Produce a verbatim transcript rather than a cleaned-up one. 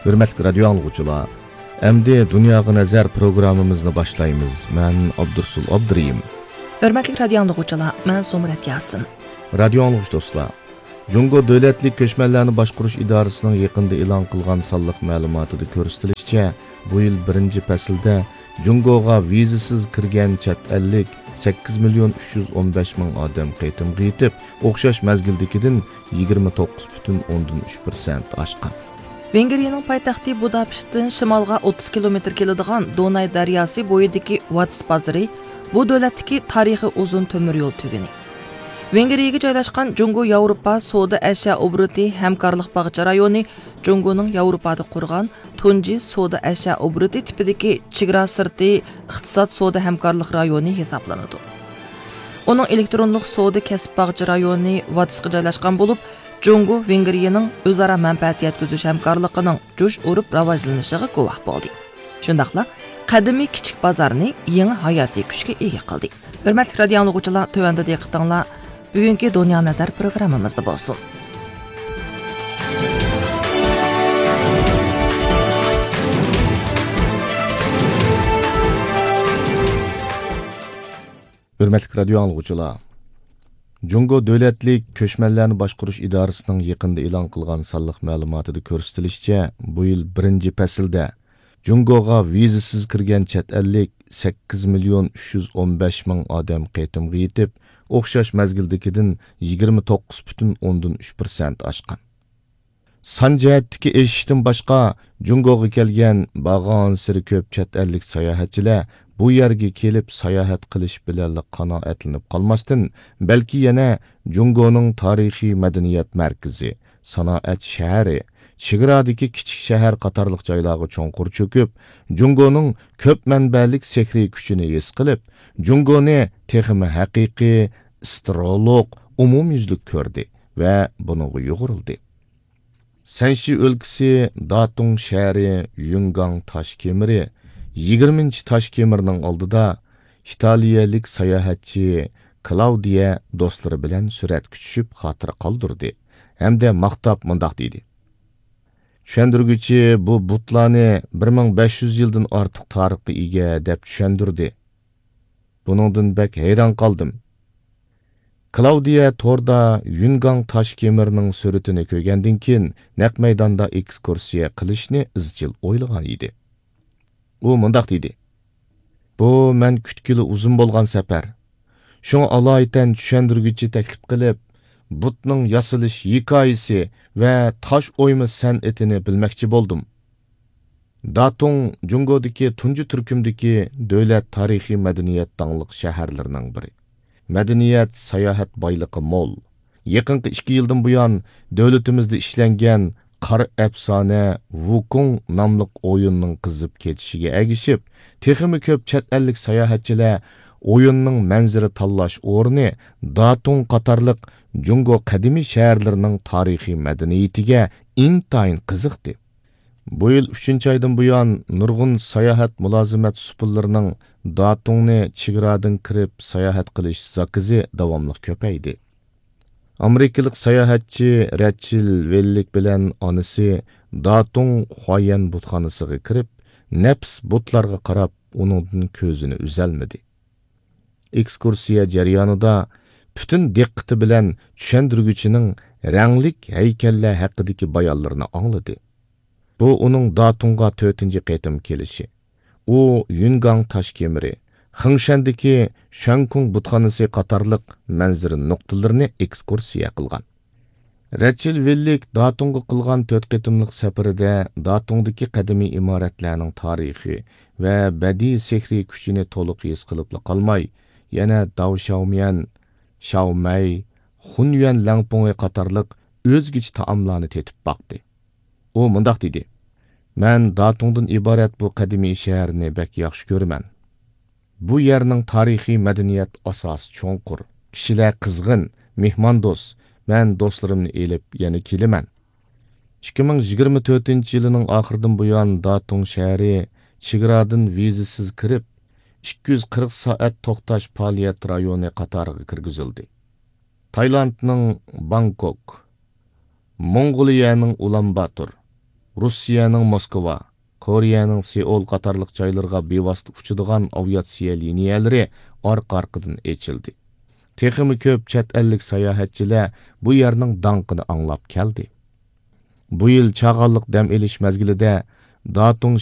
ھۆرمەتلىك رادىيو ئاڭلىغۇچىلار، ئەمدى دۇنياغا نەزەر پروگراممىمىزنى باشلايمىز. مەن ئابدۇرسۇل ئابدۇرېھىم. ھۆرمەتلىك رادىيو ئاڭلىغۇچىلار، مەن زۇمرەت ياسىن. رادىيو ئاڭلىغۇچى دوستلار، جۇڭگو دۆلەتلىك كۆچمەنلەرنى باشقۇرۇش ئىدارىسىنىڭ يېقىندا ئېلان قىلغان سانلىق مەلۇماتىدا كۆرسىتىلىشىچە، بۇ يىل بىرىنچى پەسىلدە جۇڭگوغا ۋىزىسىز كىرگەن چەت ئەللىك سەككىز مىليون ئۈچ يۈز ئون بەش مىڭ ئادەم قېتىمغا يېتىپ، ئوخشاش مەزگىلدىكىدىن يىگىرمە توققۇز پۈتۈن ئوندىن ئۈچ پىرسەنت ئاشقان. ۋېنگرىيەنىڭ پايتەختى بۇداپېشتتىن شىمالغا ئوتتۇز كىلومېتىر كېلىدىغان دوناي دەرياسى بويىدىكى ۋاتس بازىرى بۇ دۆلەتتىكى تارىخىي ئۇزۇن تۆمۈر يول تۈگۈنى. ۋېنگرىيەگە جايلاشقان جۇڭگو ياۋروپا سودا ئەشيا ئوبوروتى ھەمكارلىق باغچە رايونى جۇڭگونىڭ ياۋروپادا قۇرغان تۇنجى سودا ئەشيا ئوبوروتى تىپىدىكى چېگرا سىرتى ئىقتىساد سودا ھەمكارلىق رايونى ھېسابلىنىدۇ. ئۇنىڭ ئېلېكترونلۇق سودا كەسىپ باغچە رايونى ۋاتسقا جايلاشقان بولۇپ، جۇڭگو ۋېنگرىيەنىڭ ئۆزئارا مەنپەئەت يەتكۈزۈش ھەمكارلىقىنىڭ جۇش ئۇرۇپ راۋاجلىنىشىغا گۇۋاھ بولدى. شۇنداقلا قەدىمىي كىچىك بازارنى يېڭى ھاياتىي كۈچكە ئىگە قىلدى. ھۆرمەتلىك رادىيو ئاڭلىغۇچىلار، تۆۋەندە دىققىتىڭلار بۈگۈنكى دۇنيا نەزەر پروگراممىمىزدا بولسۇن. ھۆرمەتلىك رادىيو ئاڭلىغۇچىلار، جۇڭگو دۆلەتلىك كۆچمەنلەرنى باشقۇرۇش ئىدارىسىنىڭ يېقىندا ئېلان قىلغان سانلىق مەلۇماتىدا كۆرسىتىلىشىچە، بۇ يىل بىرىنچى پەسىلدە جۇڭگوغا ۋىزىسىز كىرگەن چەت ئەللىك سەككىز مىليون ئۈچ يۈز ئون بەش مىڭ ئادەم قېتىمغا يېتىپ، ئوخشاش مەزگىلدىكىدىن يىگىرمە توققۇز پۈتۈن ئوندىن ئۈچ پىرسەنت ئاشقان. سان جەھەتتىكى ئېشىشتىن باشقا، جۇڭگوغا كەلگەن بارغانسېرى كۆپ چەت ئەللىك ساياھەتچىلەر بۇ يەرگە كېلىپ ساياھەت قىلىش بىلەنلا قانائەتلىنىپ قالماستىن، بەلكى يەنە جۇڭگونىڭ تارىخىي مەدەنىيەت مەركىزى، سانائەت شەھىرى، چېگرادىكى كىچىك شەھەر قاتارلىق جايلارغا چوڭقۇر چۆكۈپ، جۇڭگونىڭ كۆپ مەنبەلىك سېھرىي كۈچىنى ھېس قىلىپ، جۇڭگونى تېخىمۇ ھەقىقىي، ئىستېرېئولۇق، ئومۇميۈزلۈك كۆردى ۋە بۇنىڭغا يۇغۇرۇلدى. سەنشى ئۆلكىسى داتۇڭ شەھىرى يۈنگاڭ تاش كېمىرى يىگىرمىنچى تاش كېمىرنىڭ ئالدىدا ئىتالىيەلىك ساياھەتچى كلاۋدىيە دوستلىرى بىلەن سۈرەتكە چۈشۈپ خاتىرە قالدۇردى ھەمدە ماختاپ مۇنداق دېدى: «چۈشەندۈرگۈچى بۇ بۇتلارنى بىر مىڭ بەش يۈز يىلدىن ئارتۇق تارىخقا ئىگە دەپ چۈشەندۈردى. بۇنىڭدىن بەك ھەيران قالدىم.» كلاۋدىيە توردا يۈنگاڭ تاش كېمىرنىڭ سۈرىتىنى كۆرگەندىن كېيىن، نەق مەيداندا ئېكسكۇرسىيە قىلىشنى ئىزچىل ئويلىغان ئىدى. ئۇ مۇنداق دېدى: «بۇ مەن كۈتكىلى ئۇزۇن بولغان سەپەر. شۇڭا ئالايىتەن چۈشەندۈرگۈچى تەكلىپ قىلىپ، بۇتنىڭ ياسىلىش ھېكايىسى ۋە تاش ئويما سەنئىتىنى بىلمەكچى بولدۇم.» داتۇڭ جۇڭگودىكى تۇنجى تۈركۈمدىكى دۆلەت تارىخىي مەدەنىيەت داڭلىق شەھەرلىرىنىڭ بىرى. مەدەنىيەت، ساياھەت بايلىقى مول. يېقىنقى ئىككى يىلدىن بۇيان، دۆلىتىمىزدە ئىشلەنگەن قارا ئەپسانە ۋۇكۇڭ ناملىق ئويۇننىڭ قىزىپ كېتىشىگە ئەگىشىپ، تېخىمۇ كۆپ چەت ئەللىك ساياھەتچىلەر ئويۇننىڭ مەنزىرە تاللاش ئورنى داتۇڭ قاتارلىق جۇڭگو قەدىمىي شەھەرلىرىنىڭ تارىخىي مەدەنىيىتىگە ئىنتايىن قىزىقتى. بۇ يىل ئۈچىنچى ئايدىن بۇيان، نۇرغۇن ساياھەت مۇلازىمەت سۇپىلىرىنىڭ داتۇڭنى چېگرادىن كىرىپ ساياھەت قىلىش زاكىزى داۋاملىق كۆپەيدى. ئامېرىكىلىق ساياھەتچى رەچىل ۋېللىك بىلەن ئانىسى داتۇڭ خۇايەن بۇتخانىسىغا كىرىپ، نەپىس بۇتلارغا قاراپ، ئۇنىڭدىن كۆزىنى ئۈزەلمىدى. ئېكسكۇرسىيە جەريانىدا پۈتۈن دىققىتى بىلەن چۈشەندۈرگۈچىنىڭ رەڭلىك ھەيكەللەر ھەققىدىكى بايانلىرىنى ئاڭلىدى. بۇ ئۇنىڭ داتۇڭغا تۆتىنچى قېتىم كېلىشى. ئۇ يۈنگاڭ تاش كېمىرى، خېڭشەندىكى شەنكۇڭ بۇتخانىسى قاتارلىق مەنزىرە نۇقتىلىرىنى ئېكسكۇرسىيە قىلغان. رەچىل ۋىللىك داتۇڭغا قىلغان تۆت قېتىملىق سەپىرىدە داتۇڭدىكى قەدىمىي ئىمارەتلەرنىڭ تارىخى ۋە بەدىئىي سېھرىي كۈچىنى تولۇق ھېس قىلىپلا قالماي، يەنە داۋشياۋميەن، شاۋمەي، خۇنيۈەن لەڭپۇڭى قاتارلىق ئۆزگىچە تائاملارنى تېتىپ باقتى. ئۇ مۇنداق دېدى: «مەن داتۇڭدىن ئىبارەت بۇ قەدىمىي شەھەرنى بەك ياخشى كۆرىمەن. بۇ يەرنىڭ تارىخىي مەدەنىيەت ئاساسى چوڭقۇر، كىشىلەر قىزغىن، مېھماندوست. مەن دوستلىرىمنى ئېلىپ يەنە كېلىمەن.» ئىككى مىڭ يىگىرمە تۆتىنچى يىلىنىڭ ئاخىرىدىن بۇيان داتۇڭ شەھىرى چېگرادىن ۋىزىسىز كىرىپ، ئىككى يۈز قىرىق سائەت توختاش پائالىيەت رايونى قاتارىغا كىرگۈزۈلدى. تايلاندنىڭ بانكوك، موڭغۇلىيەنىڭ ئۇلانباتور، روسىيەنىڭ موسكۋا، كورېيەنىڭ سېئۇل قاتارلىق جايلىرىغا بىۋاسىتە ئۇچىدىغان ئاۋىئاتسىيە لىنىيەلىرى ئارقا-ئارقىدىن ئېچىلدى. تېخىمۇ كۆپ چەت ئەللىك ساياھەتچىلەر بۇ يەرنىڭ داڭقىنى ئاڭلاپ كەلدى. بۇ يىل چاغانلىق دەم ئېلىش مەزگىلىدە داتۇڭ